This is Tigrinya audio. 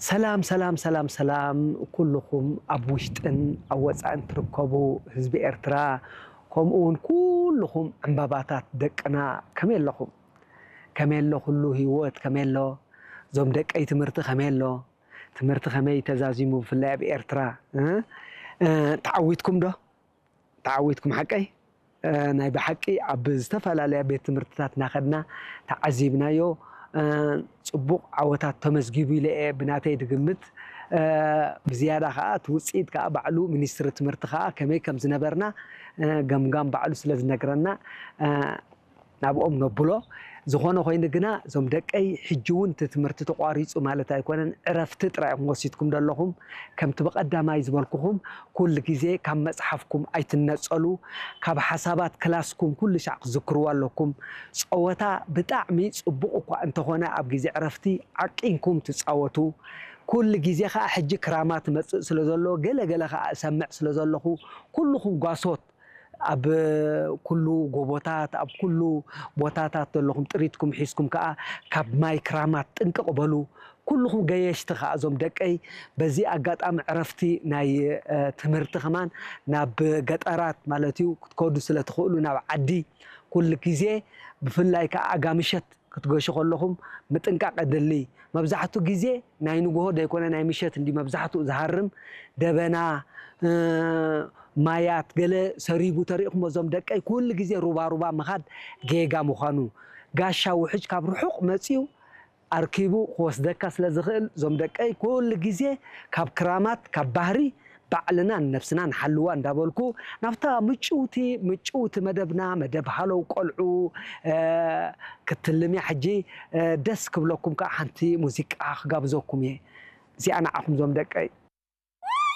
ሰላም ሰላም ሰላም ሰላም፣ ኩልኹም ኣብ ውሽጥን ኣብ ወፃእን ትርከቡ ህዝቢ ኤርትራ፣ ከምኡ እውን ኩልኹም ዕምባባታት ደቅና፣ ከመይ ኣለኹም? ከመይ ኣሎ ኩሉ ህይወት? ከመይ ኣሎ እዞም ደቀይ? ትምህርቲ ከመይ ኣሎ? ትምህርቲ ከመይ ተዛዚሙ? ብፍላይ ኣብ ኤርትራ እ? እ፣ ተዓዊትኩም ዶ? ተዓዊትኩም ሓቀይ? እ፣ ናይ ብሓቂ ኣብ ዝተፈላለያ ቤት ትምህርትታት እናኸድና ተዓዚብናዮ። እ፣ ፅቡቕ ዓወታት ተመዝጊቡ ኢለ እየ ብናተይ ድግምት። እ፣ ብዝያዳ ከዓ እቲ ውፅኢት ከዓ ባዕሉ ሚኒስትሪ ትምህርቲ ከዓ ከመይ ከም ዝነበርና፣ እ፣ ገምጋም ባዕሉ ስለ ዝነግረና፣ እ፣ ናብኦም ነብሎ። ዝኾነ ኮይኑ ግና እዞም ደቀይ ሕጂ እውን እቲ ትምህርቲ ተቋሪፁ ማለት ኣይኮነን፣ ዕረፍቲ ጥራይ ኢኹም ወሲድኩም ዘለኹም። ከምቲ ብቐዳማይ ዝበልኩኹም ኩሉ ግዜ ካብ መፅሓፍኩም ኣይትነፀሉ፣ ካብ ሓሳባት ክላስኩም ኩሉ ሻዕ ክዝክርዎ ኣለኩም። ፀወታ ብጣዕሚ ፅቡቕ እኳ እንተኾነ ኣብ ግዜ ዕረፍቲ ዓቂንኩም ትፃወቱ። ኩሉ ግዜ ከዓ ሕጂ ክራማ ትመፅእ ስለ ዘሎ ገለ ገለ ከዓ እሰምዕ ስለ ዘለኹ ኩልኹም ጓሶት ኣብ ኩሉ ጎቦታት ኣብ ኩሉ ቦታታት ዘለኹም ጥሪትኩም ሒዝኩም ከዓ ካብ ማይ ክራማት ጥንቅቕ በሉ። ኩልኹም ገየሽቲ ከዓ እዞም ደቀይ በዚ ኣጋጣሚ ዕረፍቲ ናይ እ፣ ትምህርቲ ከማን ናብ ገጠራት ማለት እዩ ክትከዱ ስለ ትኽእሉ ናብ ዓዲ ኩሉ ግዜ ብፍላይ ከዓ ኣጋምሸት ክትገሹ ከለኹም ምጥንቃቕ የድሊ። መብዛሕቱ ግዜ ናይ ንግሆ ዘይኮነ ናይ ምሸት እንዲ መብዛሕትኡ ዝሃርም ደበና እ፣ ማያት ገለ ሰሪቡ ተሪእኹም እዞም ደቀይ ኩሉ ግዜ ሩባ ሩባ ምኻድ ጌጋ ምዃኑ ጋሻ ውሕጅ ካብ ርሑቕ መፅዩ ኣርኪቡ ክወስደካ ስለ ዝኽእል እዞም ደቀይ ኩሉ ግዜ ካብ ክራማት ካብ ባህሪ ባዕልና ንነብስና ንሓልዋ እንዳበልኩ ናብታ ምጭውቲ ምጭውቲ መደብና መደብ ሃለው ቆልዑ እ፣ ክትልምያ ሕጂ እ፣ ደስ ክብለኩም ከዓ ሓንቲ ሙዚቃ ክጋብዘኩም እየ። እዚኣ ንዓኹም ዞም ደቀይ።